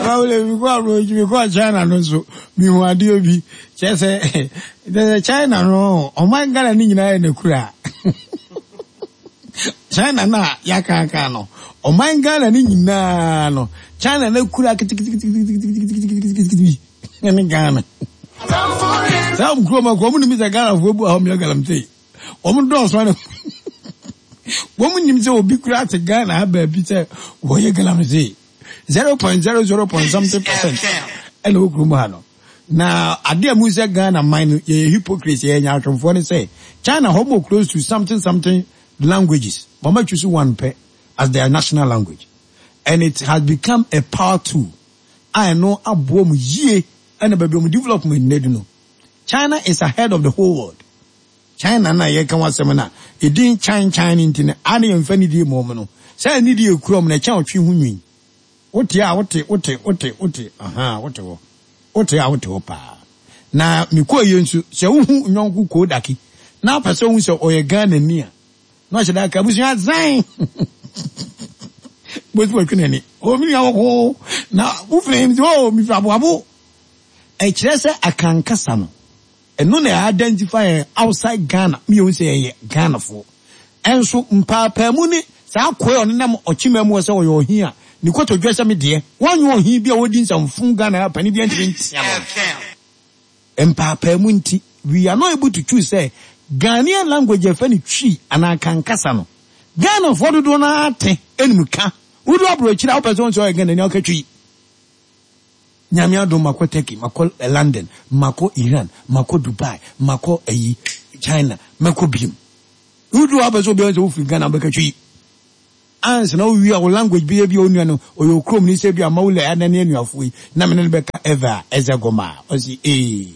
Abawole mi kɔ aburokyi mi kɔ China no nso mi hu adeɛ bi kyerɛ sɛ kyerɛ sɛ China no ɔman Ghana ne nyinaa yɛ n'akura China no a yɛakaaka no ɔman Ghana ne nyinaa no China n'akura keteketeketeketeketekete bi ne Ghana saa kurom akɔ ɔmo nim sɛ Ghanafoɔ bu ahɔ mmea galamsey wɔn dɔɔso ara wɔn nim sɛ obi kura te Ghana ha baabi sɛ wɔyɛ galamsey 0.00 point something percent ɛna wɔ kurom ha no na adeɛ a mu sɛ Ghana man no yɛyɛ hypocrites, yɛyɛ nyaatwomfoɔ ne sɛ China hɔ mo close to something something languages, wɔn choose one pɛ as their national language and it has become a power tool a ɛno aboɔ mu yie ɛna baabi wɔn development nnɛ no China is ahead of the whole world. China na yɛka ho asɛm no a, edin Chan Chan no nti no, a na yɛmfa nidie mma wɔn no. Saa nidie a ekura wɔn no, ɛkyɛn ɔtwe ho nwi. Wote a, wote, wote, wote, wote, ahaa, wote hɔ. Wote a, wote hɔ paa. Na mekɔɔ yie nso, sɛ wohu nyɔnko Kodaki na wopɛ sɛ wohu sɛ ɔyɛ Ghanani a, na ɔhyɛ da ka abusua zan. Bosi wɔtwe n'ani. O, me nua wɔko. Na wofiri him sɛ, o, mefiri aboabo. Ɛkyerɛ sɛ Akan kasa no, ɛno na ɛ identify yɛn outside Ghana ma yɛhu sɛ yɛyɛ Ghanafoɔ. Ɛnso mpaapaamu ne saa akoa a ɔnenam ɔkyema mu hɔ sɛ ɔyɛ ɔhen a, ne kotodwe sɛ me deɛ, wɔnyɛ ɔhen bi a ɔdi nsɛmfo Ghana ha panin biara ntumi ntea no. Mpaapaamu nti, we are not able to choose sɛ Ghanaian language a yɛfrɛ no Twi anaa Akan kasa no, Ghanafoɔ dodoɔ no ara te nim ka. Wodu aborɔkyire a wopɛ sɛ wohu sɛ ɔyɛ Ghanani a woka Twi. Nyame adom makɔ Turkey, makɔ London, makɔ Iran, makɔ Dubai, makɔ ayi China, mɛkɔ biom. Wodu hɔ apɛ sɛ obiara sɛ wofiri Ghana wobɛka Twi. Ansa na wowie a wo language bɛyɛ bi a onua no ɔyɛ okurom ni sɛ bi a Maula ana ne anuafoɔ yi na me ne no bɛka Eva Ɛzɛgoma a ɔsi ee.